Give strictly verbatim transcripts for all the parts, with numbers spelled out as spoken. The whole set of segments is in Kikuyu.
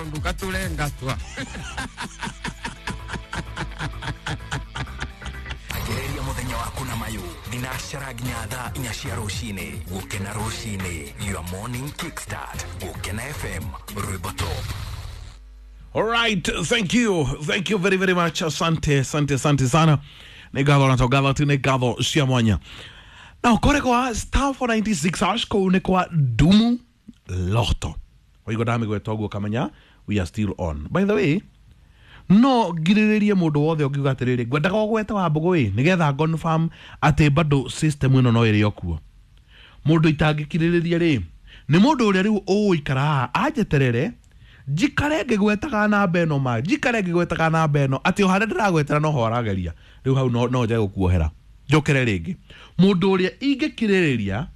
Ndukatule ngatwa. Anjĩrĩria mũthenya waku na mayũ thinacara nginya thaa inya cia rũcinĩ. Gũkena rũcinĩ, your morning kickstart. Gũkena F M, rwĩmbo top. All right, thank you. Thank you very very much. Asante, asante, asante sana. Nĩ ngatho na to tu nĩ ngatho cia mwanya. Na kore kwa star four ninety-six hash kũu nĩ kwa Dumu Lotto. Waigua ndamĩgweta ũguo kamenya we are still on. By the way, no ngirĩrĩrie mũndũ wothe ũngiuga atĩrĩrĩ ngwendaga ũgwete wa mbũgũ ĩ nĩgetha confirm atĩ bado system ĩno no ĩrĩ o kuo. Mũndũ itangĩkirĩrĩria rĩ nĩ mũndũ ũrĩa rĩu ũgũikara haha anjeterere njikare ngĩgwetaga namba ĩno ma njikare ngĩgwetaga namba ĩno atĩ o harĩa ndĩragwetera no ho arageria rĩu hau no no njage gũkuohera njokere rĩngĩ. Mũndũ ũrĩa ingĩkirĩrĩria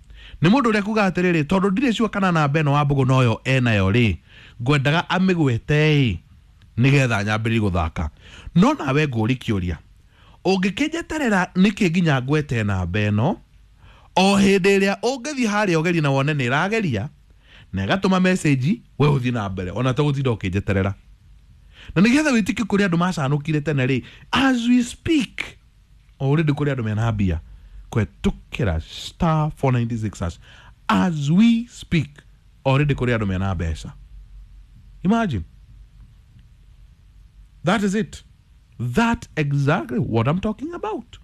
nĩ mũndũ ũrĩa kuga atĩrĩrĩ tondũ ndirĩ sure kana namba ĩno wa mbũgũ noyo enayo rĩ ngwendaga amĩgwete ĩ nĩgetha nyambĩrĩrie gũthaka. No nawe ngũri kĩũria ũngĩkĩnjeterera nĩkĩ nginya ngwete namba ĩno o hĩndĩ ĩrĩa ũngĩthiĩ harĩa ũgerie na wone nĩ ĩrageria na ĩgatũma message we ũthiĩ na mbere ona tũgũtinda ũkĩnjeterera. Na nĩgetha wĩtĩkie kũrĩ andũ macanũkire tene rĩ as we speak already kũrĩ andũ mena mbia kwetukĩra star four ninety-six hash as we speak already kũrĩ andũ mena mbeca. Imagine. That is it. That exactly what I'm talking about.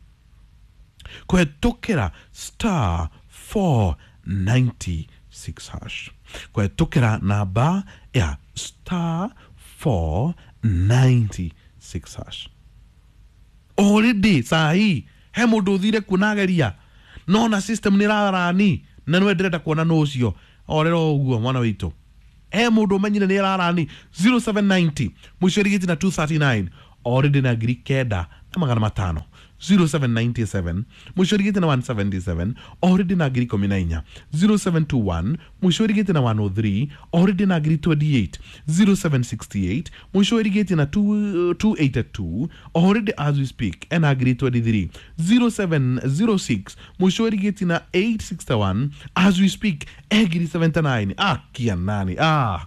Kwetukĩra star four ninety-six hash. Kwetukĩra namba ya star four ninety-six hash. Already sahi he mũndũ ũthire kuona ageria no na system nĩ rarani na nĩwe ndĩrenda kuona nũ ũcio orero ũguo mwana witũ. He mũndũ ũmenyire nĩ rarani zero seven ninety mũico ĩrigĩti na two thirty-nine already na ngiri kenda na magana matano. Zero seven ninety-seven mũico ĩrigĩti na one seventy-seven already na ngiri ikũmi na inya. Zero seven two one mũico ĩrigĩti na one oh three already na ngiri twenty-eight. Zero seven sixty-eight mũico ĩrigĩti na two eighty-two already as we speak ena ngiri twenty-three. Zero seven zero six mũico ĩrigĩti na eight sixty-one as we speak e ngiri seventy-nine. Akia nani ah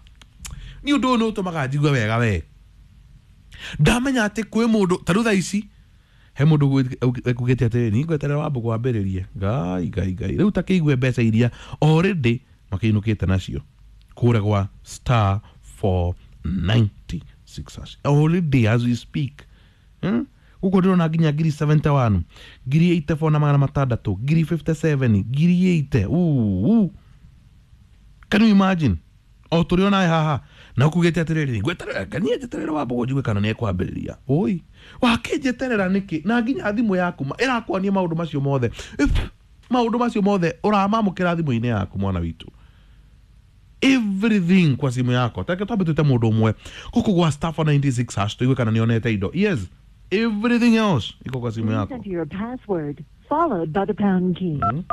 nĩ ũndũ ũyũ nĩ ũtũmaga njigue wega we ndamenya atĩ kwĩ mũndũ ta rĩu thaa ici he mũndũ ekugĩte atĩrĩrĩ ni ngweterera wa mbũgũ wambĩrĩrie ngai ngai ngai rĩu takĩigue mbeca iria already makĩinũkĩte nacio kũrĩa gwa star four ninety-six hash already as we speak. Hmm? Gũkũ ndĩrona nginya ngiri seventy-one ngiri eighty-four na magana matandatũ ngiri fifty-seven ngiri eighty. Ooh, can you imagine o tũrĩ onawe haha na ũkugĩte atĩrĩrĩ ngweterera nganie njeterera wa mbũgũ njigue kana nĩ ekwambĩrĩria. Oi wakĩnjeterera nĩkĩ na nginya thimũ yaku ĩrakwania maũndũ macio mothe maũndũ macio mothe ũramamũkĩra thimũ-inĩ yaku mwana witũ everything kwa simu yako. Take twambe twĩte mũndũ ũmwe gũkũ gwa star four ninety-six hash tũigue kana nĩonete indo. Yes, everything else iko kwa simu yako. Enter your password followed by the pound key. Mm-hmm.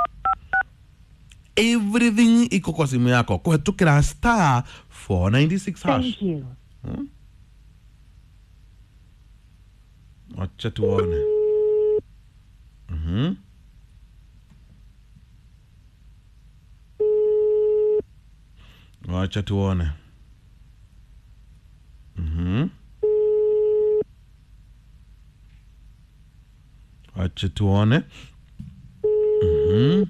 Everything iko kwa simu yako kũhetũkĩra star four ninety-six hash. Thank you. Hmm? Wacha tuone. Mhm. Wacha tuone. Mhm. Wacha tuone. Mhm.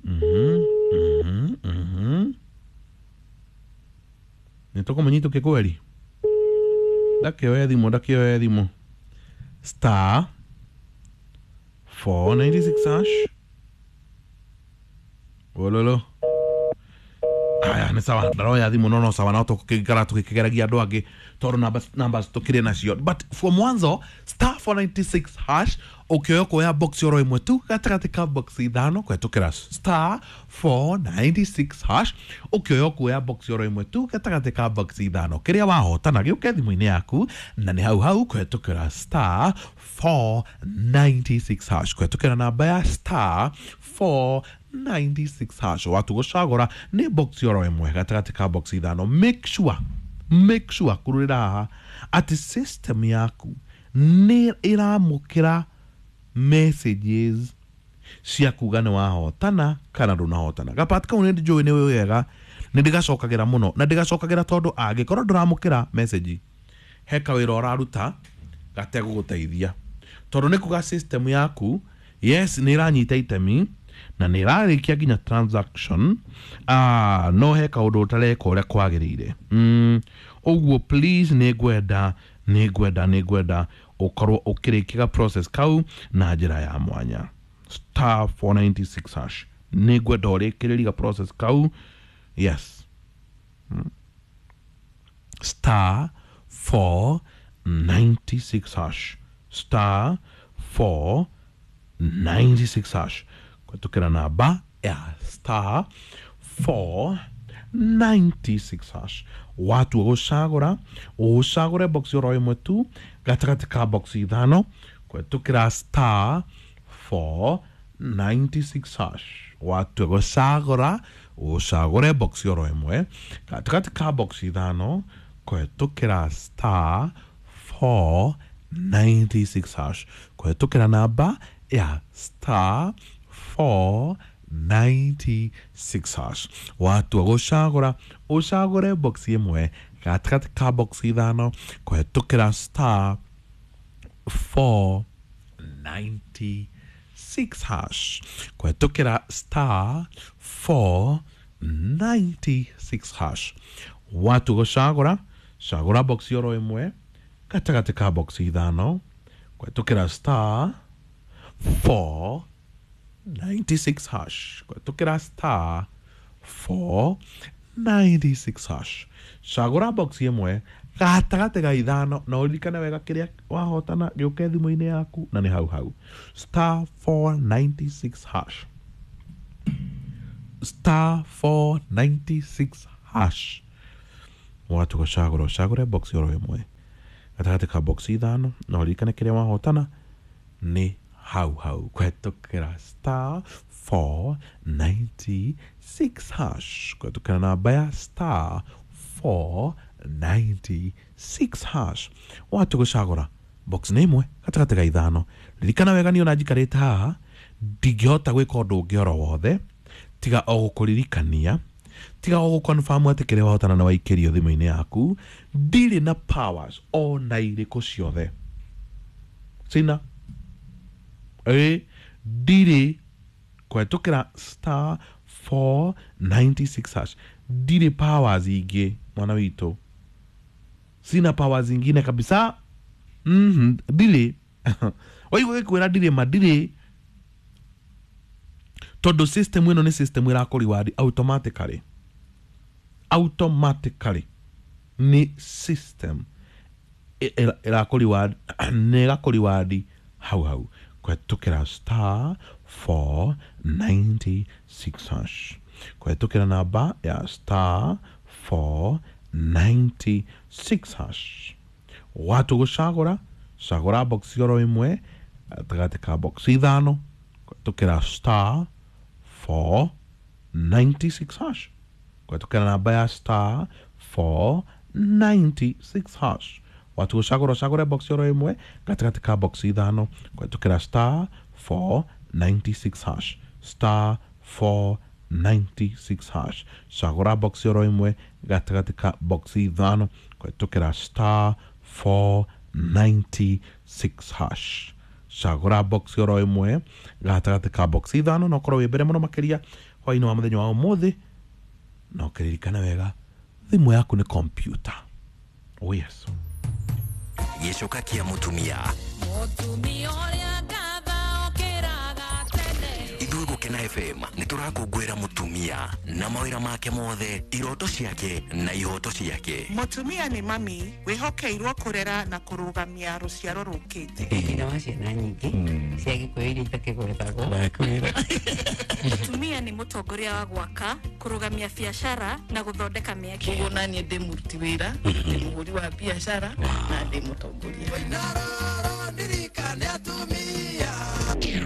Mhm. Mhm. Mhm. Nĩtũkũmũnyitũkie kweri ndakĩoya thimũ ndakĩoya thimũ star four ninety-six hash ololo aya nĩ sawa ndaroya thimũ no no sawa no tũkĩikara tũgĩkĩgeragia andũ angĩ tondũ numbers numbers tũkĩrĩ nacio but for mwanzo star four ninety-six hash ũkĩoya kuoya box oro ĩmwe tu gatagatĩ ka box ithano kũhetũkĩra star four ninety-six hash ũkĩoya kuoya box oro ĩmwe tu gatagatĩ ka box ithano kĩrĩa wahotana gĩũke thimũ-inĩ yaku na nĩ hau hau kũhetũkĩra star four ninety-six hash kũhetũkĩra namba ya star four ninety-six hash watu gũcagũra nĩ box oro ĩmwe gatagatĩ ka box ithano. Make sure make sure kũrũrĩra haha atĩ system yaku nĩ ĩramũkĩra messages cia kuga nĩ wahotana kana ndũnahotana. Gapati kau nĩ njũĩ nĩ wega, nĩ ndĩgacokagĩra mũno na ndĩgacokagĩra tondũ angĩkorwo ndũramũkĩra message he kawĩra ũraruta gategũgũteithia, tondũ nĩ kuga system yaku yes nĩ ĩranyita itemi na nĩ ĩrarĩkia nginya transaction, ah, no he kaũndũ ũtareka ũrĩa kwagĩrĩire. mm, ũguo please nĩ ngwenda nĩ ngwenda nĩ ngwenda ũkorwo ũkĩrĩkia process kau na njĩra ya mwanya. Star four ninety-six hash nĩ ngwenda ũrĩkĩrĩria process kau. Yes, mm. Star four ninety-six hash, star four ninety-six hash kwetukira namba ya star four ninety-six hash. Watu gucagura ucagure box oro imwe tu gatagati ka box ithano kwetukira star four ninety-six hash. Watu gucagura ucagure box oro imwe gatagati ka box ithano kwetukira star four ninety-six hash kwetukira namba ya star four ninety-six hash. Watu gucagura ucagure box imwe gatagati ka box ithano kwetukira star four ninety-six hash kwetukira star four ninety-six hash. Watu gucagura cagura box oro imwe gatagati ka box ithano kwetukira star four ninety-six hash kwetukira star four ninety-six hash. Cagura box imwe gatagati ga ithano na uririkane wega kiria wahotana gĩũke thimũ-inĩ yaku na nĩ hau hau. Star four ninety-six hash, star four ninety-six hash. Watu gucagura ucagure box oro imwe gatagati ka box ithano na uririkane kiria wahotana nĩ hau hau kwetukira star four ninety-six hash kwetukira namba ya star four ninety-six hash. Watu gucagura box nĩ imwe gatagati ga ithano. Ririkana wega niĩ ona njikarĩte haha ndingĩhota gwĩka ũndũ ũngĩ oro wothe tiga o gũkũririkania, tiga o gũconfirm atĩ kĩrĩa wahotana nĩ waikĩrio thimũ-inĩ yaku. Ndirĩ na powers ona irĩkũ ciothe, sina ĩ ndirĩ kwetukira star four ninety-six hash. Ndirĩ powers ingĩ mwana witũ, sina powers ingine kabisa. Mhm, ndirĩ waigua gĩkwĩra ndirĩ ma ndirĩ, tondũ system ĩno nĩ system ĩrakũreward automatically, automatically nĩ system ĩrakũreward nĩ ĩgakũreward hau hau kwetukira star four ninety-six hash kwetukira namba ya star four ninety-six hash. Watu gucagura cagura box oro imwe gatagati ka box ithano kwetukira star four ninety-six hash kwetukira namba ya star four ninety-six hash. Watu gucagura cagura box oro imwe gatagati ka box ithano kwetukira star four ninety-six hash, star four ninety-six hash. Cagura box oro imwe gatagati ka box ithano kwetukira star four ninety-six hash. Cagura box oro imwe gatagati ka box ithano na ukorwo wi mbere muno makiria hwaini wa muthenya wa umuthi, na ukiririkana wega thimu yaku ni computer. Oh yes. Gĩcoka kĩa mũtumia Mũtumia ũrĩa ngatha okĩraga tene. Ithuĩ Gũkena F M nĩ tũrakũngũĩra mũtumia na mawĩra make mothe, iroto ciake na ihoto ciake. Mũtumia nĩ mami wĩhokeirwo kũrera na kũrũgamia rũciaro rũkĩte. Nyina wa ciana nyingĩ cia Gĩkũyũ iria itakĩgwetagwo. Mũtumia nĩ mũtongoria wa gwaka, kũrũgamia biacara na gũthondeka mĩeke. Ũguo naniĩ ndĩ mũruti wĩra, ndĩ mũhũri wa biacara na ndĩ mũtongoria.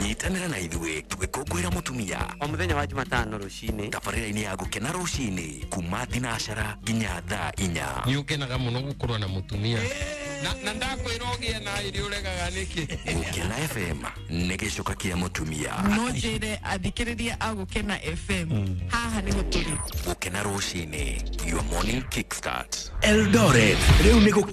Nyitanĩra na ithuĩ tũgĩkũngũĩra mũtumia O mũthenya wa Jumatano rũcinĩ tabarĩra-inĩ ya Gũkena rũcinĩ kuma thinacara nginya thaa inya. Nĩ ũkenaga mũno gũkorwo na mũtumia. Na na ndakwĩra ũgĩe na irio ũregaga nĩkĩ? Gũkena F M nĩ gĩcoka kĩa mũtumia. No njĩre athikĩrĩria a Gũkena F M haha nĩho tũrĩ. Gũkena rũcinĩ, your morning kickstart. Eldoret rĩu nĩ gũkena.